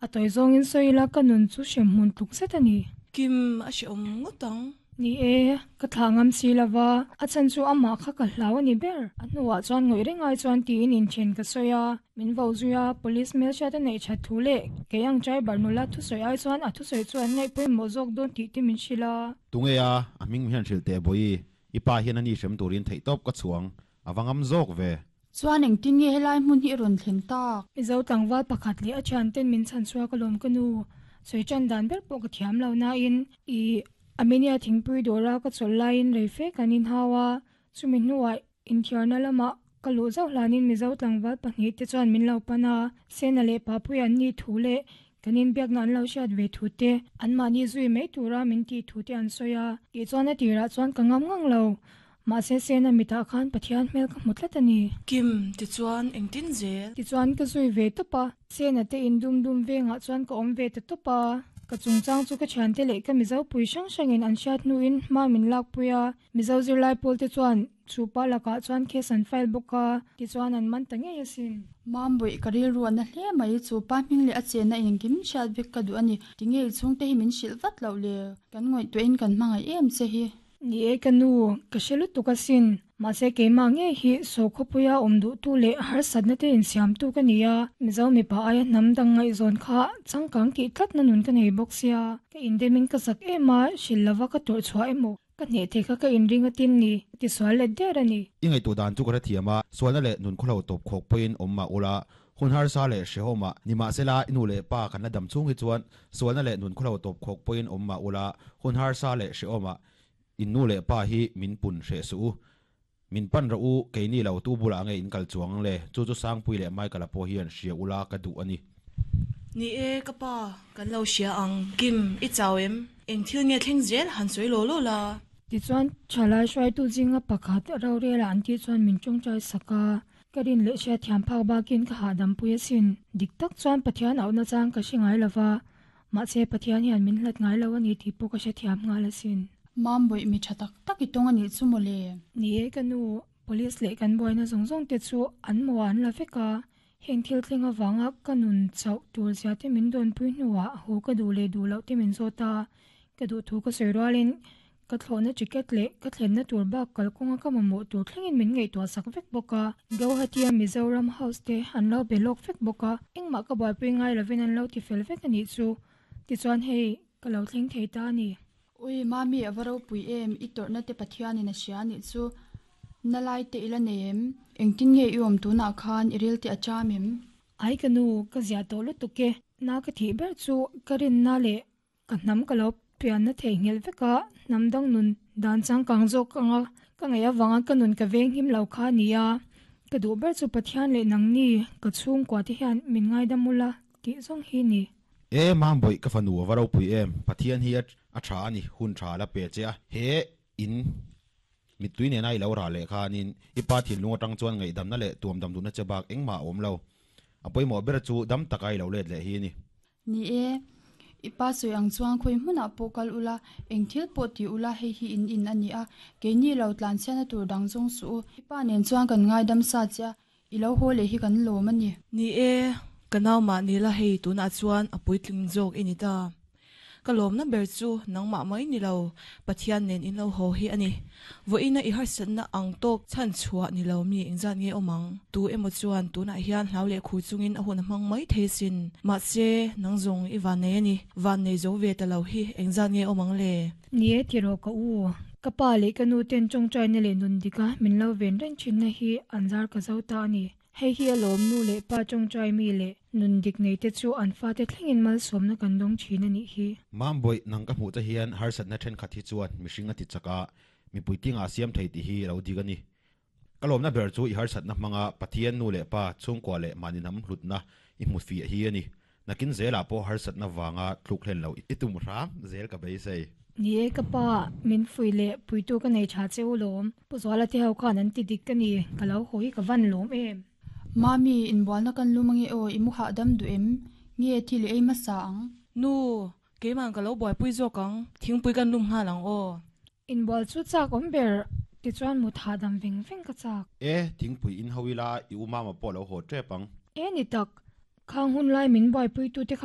A tawi zawngin sawi ila ka nun chu hremhmun tluk zet a ni. Kim, a hrehawm ngawt ang. Ni e, ka thlah ngam si lova, a chhan chu amah kha ka hlau a ni ber. A hnuah chuan ngawih reng ai chuan tiin inthen ka sawi a, min vo zui a, police hmelhriat a neih that thu leh kei ang driver nula thusawi ai chuan a thusawi chu an ngaih pawimawh zawk dawn tih te min hrilh a. Tunge a, a hming hian hrilh teh Bawihi, i pa hian a ni hrem turin theihtawp ka chhuang, a va ngam zawk ve. Chuan engtin nge helai hmun hi i rawn thleng tak? Mizo tlangval pakhat leh a thianten min chhan chhuak alawm ka nu. Sawi tan dan ber pawh ka thiam lo nain i Armenia thingpui dawra ka chawlh laiin rei fe kan inhau a, chumi hnuah inthiarna lamah ka luh zauh hlanin Mizo tlangval pahnihte chuan min lo pan a, Sena leh Papuia an nih thu leh kan inbiakna an lo hriat ve thu te, anmahni zui mai tura min tih thu te an sawi a. Tihchuan a tirah chuan ka ngam ngang lo. Mahse Sena mitah khan Pathian hmel ka hmu tlat a ni. Kim, tichuan engtin zel? Tichuan ka zui ve tawp a. Sena te in dum dum vengah chuan ka awm ve ta tawp a. Ka chungchang chu ka thiante leh ka Mizo pui hrang hrangin an hriat hnuin hma min lakpui a. Mizo zirlai pawl te chuan chu pa lakah chuan case an file bawk a, tichuan an man ta ngei asin. Mambawi, ka rilru a na hle mai. Chu pa hming leh a chenna engkim hriat vek ka duh a ni. Tinge i chhungte hi min hrilh vat loh le? Kan ngaihtuahin kan hmangaih em che hi. Ni e ka nu, ka hre lutuk asin. Mahse keimah ngei hi sawkhawpuia awm duhtu leh harsatna te insiamtu ka ni a, Mizo mipa aia hnam dang ngaihzawn kha changkang tih tlatna nun ka nei bawk sia. Ka indemin ka zak em a, hrilh lova ka tawrh chhuah emaw ka hneh thei kha ka inring atin ni, ka ti sual let der a ni. I ngaihtuah dan chu ka hrethiam a, sualna leh nun khawhlo tawp khawk pawhin awm mah ula, hun harsa leh hrehawm ah, nimahsela i nu leh pa kan la dam chhung hi chuan sualna leh nun khawhlo tawp khawk pawhin awm mah ula, hun harsa leh hrehawm ah in nu leh pa hi min pun hreh suh u. Min pan rawh u, keini lo tu bulah nge in kal chuang ang le, chu chu Sangpui leh Michael-a pawh hian hria ula ka duh a ni. Ni e, ka pa, kan lo hria ang. Kim, i chau em? Eng thil nge thleng zel han sawi law law la? Tichuan, thalai hruaitu zinga pakhat rorela an tih chuan min tawngtai sak a. Ka rin leh hriatthiam phak bakin ka hahdam pui asin. Dik tak chuan Pathian auhna chang ka hre ngai lova, mahse Pathian hian min hlat ngai lo a ni tih pawh ka hrethiam nghal asin. Mambawi mi tha tak tak i tawng a nih chu mawle. Ni e ka nu, Police leh kan buaina zawng zawng te chu an maw an la vek a, heng thil thleng avanga ka nun chauh tur zia te min dawnpui hnuah haw ka duh leh duh loh te min zawt a, ka duh thu ka sawi rualin Ka thlawhna ticket leh ka thlenna tur bak kalkawnga ka mamawh tur thlengin min ngaihtuah sak vek bawk a. Gauhati-a Mizoram House te an lo be lawk vek bawk a, engmah ka buaipui ngai lovin an lo ti fel vek a nih chu. Tichuan hei, ka lo thleng thei ta a ni. Ui, Mami a va ropui em, i tawrhna te Pathianin a hria a nih chu. Na lai te i la nei em? Engtin nge i awm tunah khan i ril te a cham em? Ai ka nu, ka ziah tawh lutuk e. Na ka thih ber chu ka rinna leh Ka hnam ka lo pianna theihnghilh vek a, hnam dang nun dan changkang zawk anga ka ngaih avanga ka nun ka veng him lo kha a ni a, ka duh ber chu Pathian leh nangni ka chhungkua te hian min ngaidam ula tih zawng hi ni. E Mambawih ka fanu a va ropui em, Pathian hi a tha a ni, hun tha a la pe che a, he in mittui nena i lo rah leh khanin i pa thinlung atang chuan ngaihdamna leh tuamdam duhna che bak engmah a awm lo, a pawimawh ber chu dam taka i lo let leh hi a ni. Ni e, i pa sawi ang chuan khawi hmunah pawh kal ula, eng thil pawh ti ula hei hi in in a ni a, keini lo tlanchhiatna tur dang zawng suh u. I pa nen chuan kan ngaidam sa che a, i lo haw leh hi kan lawm a ni. Ni e, ka nau mah ni la hei tunah chuan a puitling zawk i ni ta. Ka lawmna ber chu nangmah mai ni lo, Pathian nen in lo haw hi a ni. Vawiina i harsatna ang tawk chhan chhuah ni lo mi engzat nge awm ang? Tu emaw chuan tunah hian hlau leh khur chungin a hun a hmang mai thei asin. Mahse, nang zawng i vannei a ni. Vannei zo ve ta lo hi engzat nge awm ang le? Ni e tiraw ka u. Ka pa leh ka nu ten tawngtaina leh nun dika min lo ven reng thinna hi an zar ka zo ta a ni. Hei hi a lawm nu leh pa tawngtai mi leh nun dik nei te chu an fate thlengin malsawmna kan dawng thin a nih hi. Mambawi, nang ka hmuh te hian harsatna thenkhat hi chuan mihring a ti chak a, mipui tinga a siam thei tih hi a lo dik a ni. Ka lawmna ber chu i harsatna hmanga Pathian nu leh pa chhungkua leh mahni hnam hlutna i hmu fiah hi a ni. Nakin zelah pawh harsatna vanga tluk hlen lo i tum hram zel ka beisei. Ni e ka pa, min fuih leh puitu ka nei tha che u lawm. Pu Zuala te ho khan an ti dik ka ni, ka lo haw hi ka van lawm em. Mami, inbualna kan lum ange aw, i mu hahdam duh em? Nge thil i ei hmasa ang? Nu, keiman ka lo buaipui zawk ang, thingpui kan lum nghal ang aw. Inbual chu chak awm ber, tichuan mut hahdam veng veng ka chak. E, thingpui in ho ila, i u mama pawh lo haw tep ang. E ni tak, khang hun lai min buaipuitute kha.